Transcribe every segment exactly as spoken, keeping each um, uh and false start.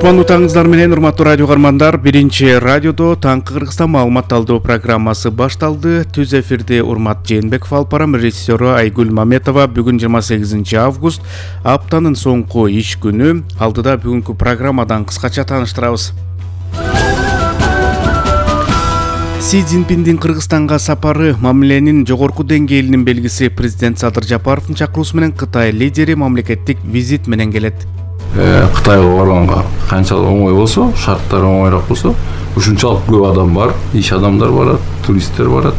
Кутмандуу таңыңыздар менен, урматтуу радио каармандар. Биринчи радиодо таңкы Кыргызстан маалымат алуу программасы башталды. Түз эфирде Урмат Жээнбеков алып барам, режиссеру Айгүл Маметова. Бүгүн жыйырма сегизинчи август, аптанын соңку иш күнү. Алдыда бүгүнкү программадан кыскача тааныштырабыз. Си Цзиньпиндин Кыргызстанга сапары мамиленин жогорку деңгээлинин белгиси. Президент Садыр Жапаровдун чакыруусу менен Кытай лидери мамлекеттик визит менен келет. Кытайга барганга канчалык оңой болсо, шарттар оңойрак болсо, ушунчалык көп адам бар, иш адамдар барат, туристтер барат.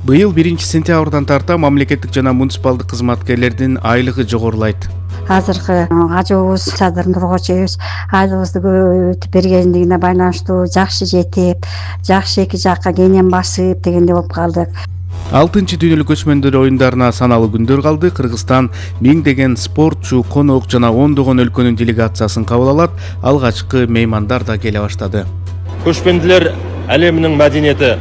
Быйыл биринчи сентябрдан тарта мамлекеттик жана муниципалдык кызматкерлердин айлыгы жогорулайт. Азыркы ажыбыз Садыр Нуркожоевич айлыгыбызды көбөйтүп бергендигине байланыштуу жакшы жетип, жакшы эки жакка кенен басып дегенде болуп калдык. алтынчы дүйнөлүк көчмөндөр оюндарына саналуу күндөр калды. Кыргызстан миңдеген спортчу, конок жана ондогон өлкөнүн делегациясын кабыл алат. Алгачкы меймандар да келе баштады. Көчмөндөр әлеминин мәдениети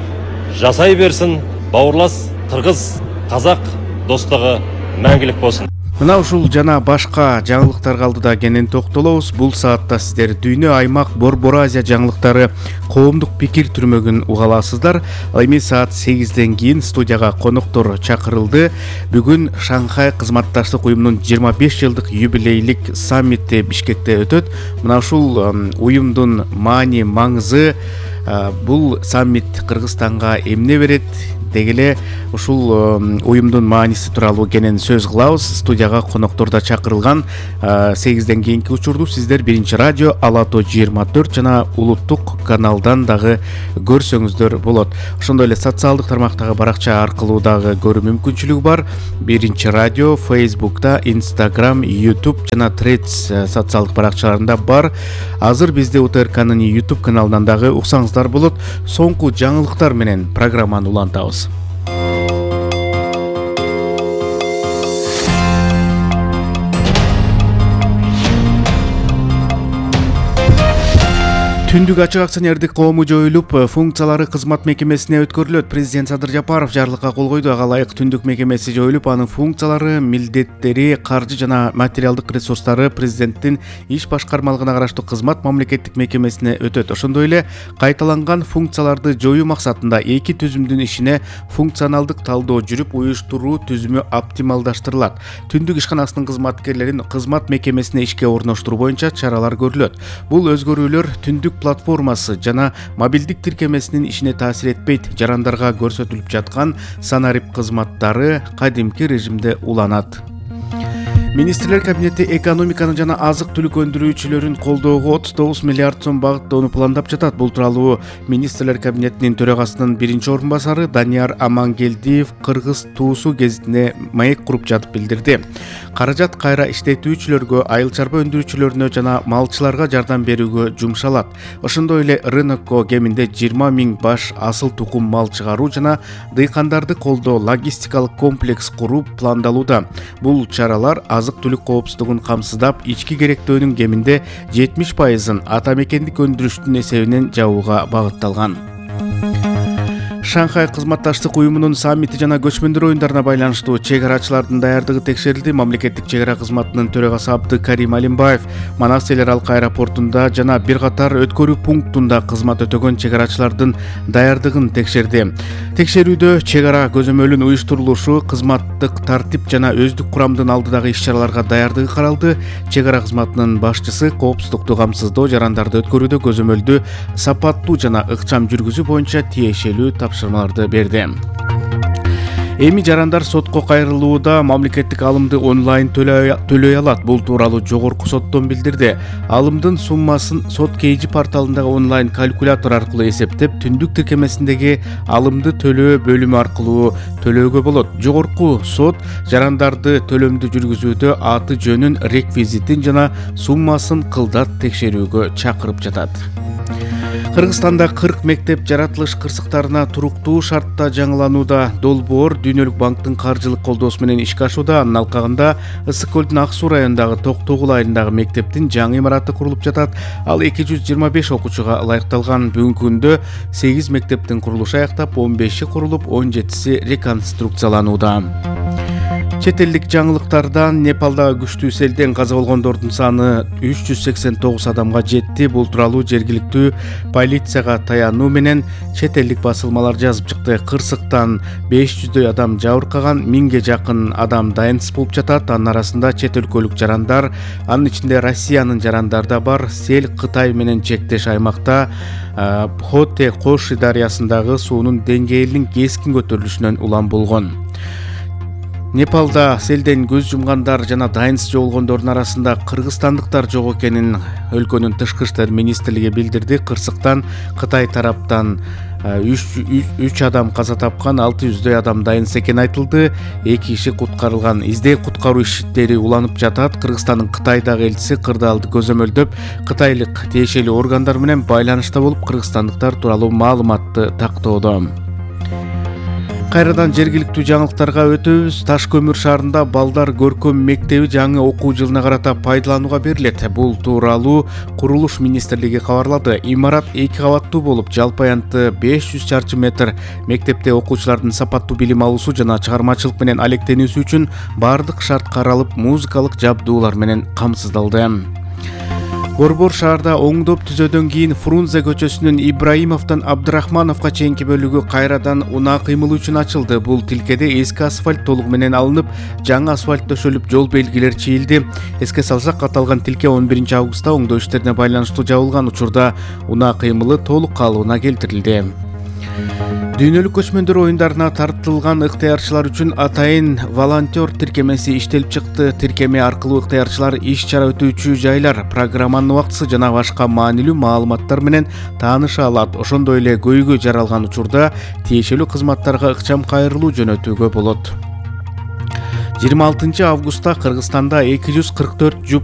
жасай берсин. Бауырлас кыргыз, казак достугу мәңгилик болсун. Мына ушул жана башка жаңылыктар алдыда кенен токтолобуз. Бул саатта сиздер дүйнө, аймак, Борбор Азия жаңылыктары, коомдук пикир түрмөгүн уга аласыздар. Ал эми саат сегизден кийин студияга коноктор чакырылды. Бүгүн Шанхай кызматташтык уюмунун жыйырма беш жылдык юбилейлик саммити Бишкекте өтөт. Мына ушул уюмдун маани, маңызы, бул саммит Кыргызстанга эмне берет дегеле ушул уюмдун мааниси тууралуу кенен сөз кылабыз. Студияга коноктор да чакырылган. сегизден кийинки учурду сиздер биринчи радио Ала Тоо жыйырма төрт жана улуттук каналдан дагы көрсөңүздөр болот. Ошондой эле социалдык тармактагы баракча аркылуу дагы көрүү мүмкүнчүлүгү бар. Биринчи радио Фейсбукта, Инстаграм, Ютуб жана Threads социалдык баракчаларында бар. Азыр бизде У Т Р К'нын Ютуб каналынан дагы уксаңыздар болот. Соңку жаңылыктар менен программаны улантабыз. Түндүк ачык акционердик коому жоюлуп, функциялары кызмат мекемесине өткөрүлөт. Президент Садыр Жапаров жарлыкка кол койду. Ага ылайык түндүк мекемеси жоюлуп, анын функциялары, милдеттери, каржы жана материалдык ресурстары президенттин иш башкармалыгына караштуу кызмат мамлекеттик мекемесине өтөт. Ошондой эле кайталанган функцияларды жоюу максатында эки түзүмдүн ишине функционалдык талдоо жүрүп, уюштуруу түзүмү оптималдаштырылат. Түндүк ишканасынын кызматкерлерин кызмат мекемесине ишке орноштуруу боюнча чаралар көрүлөт. Бул өзгөрүүлөр түндүк платформасы жана мобилдик тиркемесинин ишине таасир этпейт. Жарандарга көрсөтүлүп жаткан санарип кызматтары кадимки режимде уланат. Министрлер кабинети экономиканы жана азык-түлүк өндүрүүчүлөрүн колдоого отуз тогуз миллиард сом багыттоону пландап жатат. Бул тууралуу Министрлер кабинетинин төрагасынын биринчи орун басары Данияр Амангелдиев Кыргыз туусу гезитине маек куруп жатып билдирди. Каражат кайра иштетүүчүлөргө, айыл чарба өндүрүүчүлөрүнө жана малчыларга жардам берүүгө жумшалат. Ошондой эле рынокко кеминде жыйырма миң баш асыл тукум мал чыгаруу жана дыйкандарды колдоо логистикалык комплекс куруу пландалууда. Бул чаралар азык-түлүк коопсуздугун камсыздап, ички керектөөнүн кеминде жетимиш пайызын ата мекендик өндүрүштүн эсебинен жабууга багытталган. Шанхай кызматташтык уюмунун саммити жана көчмөндөр оюндарына байланыштуу чек-арачылардын даярдыгы текшерилди. Мамлекеттик чек-ара кызматынын төрагасы Абдыкарим Алимбаев Манас эл аралык аэропортунда жана бир катар өткөрүү пунктунда кызмат өтөгөн чек-арачылардын даярдыгын текшерди. Текшерүүдө чек-ара көзөмөлүн уюштурулушу, кызматтык тартип жана өздүк курамдын алдыдагы иш-чараларга даярдыгы каралды. Чек-ара кызматынын башчысы коопсуздукту камсыздоо, жарандарды өткөрүүдө көзөмөлдү сапаттуу жана ыкчам жүргүзүү боюнча тиешелүү тапшырмаларды берди. Эми жарандар сотко кайрылууда мамлекеттик алымды онлайн төлөй алат. Бул тууралуу жогорку соттон билдирди. Алымдын суммасын сот кейжи порталындагы онлайн калькулятор аркылуу эсептеп, түндүк тиркемесиндеги алымды төлөө бөлүмү аркылуу төлөөгө болот. Жогорку сот жарандарды төлөмдү жүргүзүүдө аты жөнүн, реквизитин жана суммасын кылдат текшерүүгө чакырып жатат. Кыргызстанда кырк мектеп жаратылыш кырсыктарына туруктуу шартта жаңыланууда. Долбоор Дүйнөлүк банктын каржылык колдоосу менен ишке ашууда. Анын алкагында Ысык көлдүн Ак суу районундагы Токтогул айылындагы мектептин жаңы имараты курулуп жатат. Ал эки жүз жыйырма беш окуучуга ылайыкталган. Бүгүнкү күндө сегиз мектептин курулушу аяктап, он беши курулуп, он жетиси реконструкцияланууда. Чет элдик жаңылыктардан Непалдагы күчтүү селден каза болгондордун саны үч жүз сексен тогуз адамга жетти. Бул тууралуу жергиликтүү полицияга таянуу менен чет элдик басылмалар жазып чыкты. Кырсыктан беш жүздөй адам жабыркаган, миңге жакын адам дайынсыз болуп жатат. Анын арасында чет өлкөлүк жарандар, анын ичинде Россиянын жарандары да бар. Сел Кытай менен чектеш аймакта Пхоте Коши дарыясындагы суунун деңгээлинин кескин көтөрүлүшүнөн улам болгон. Непалда селден көз жумгандар жана дайынсыз жоголгондордун арасында кыргызстандыктар жок экенин өлкөнүн тышкы иштер министрлиги билдирди. Кырсыктан Кытай тараптан үч адам каза тапкан, алты жүздөй адам дайынсыз экени айтылды. эки киши куткарылган. Издөө куткаруу иштери уланып жатат. Кыргызстандын Кытайдагы элчиси кырдаалды көзөмөлдөп, кытайлык тиешелүү органдар менен байланышта болуп, кыргызстандыктар тууралуу маалыматты тактоодо. Кайрадан жергиликтүү жаңылыктарга өтөбүз. Таш көмүр шаарында балдар көркөм мектеби жаңы окуу жылына карата пайдаланууга берилет. Бул тууралуу курулуш министрлиги кабарлады. Имарат эки кабаттуу болуп, жалпы аянты беш жүз чарчы метр. Мектепте окуучулардын сапаттуу билим алуусу жана чыгармачылык менен алектенүүсү үчүн бардык шарт каралып, музыкалык жабдуулар менен камсыздалды. Борбор шаарда оңдоп түзөөдөн кийин Фрунзе көчөсүнүн Ибраимовдон Абдрахмановго чейинки бөлүгү кайрадан унаа кыймылы үчүн ачылды. Бул тилкеде эски асфальт толугу менен алынып, жаңы асфальт төшөлүп, жол белгилер чийилди. Эске салсак, аталган тилке он биринчи августта оңдоо иштерине байланыштуу жабылган учурда унаа кыймылы толук калыбына келтирилди. Дүйнөлүк көчмөндөр оюндарына тартылган ыктыярчылар үчүн атайын волонтер тиркемеси иштелип чыкты. Тиркеме аркылуу ыктыярчылар иш-чара өтүүчү жайлар, программанын убактысы жана башка маанилүү маалыматтар менен тааныша алат. Ошондой эле көйгөй жаралган учурда тиешелүү кызматтарга ыкчам кайрылуу жөнөтүүгө болот. жыйырма алтынчы августта Кыргызстанда эки жүз кырк төрт жуп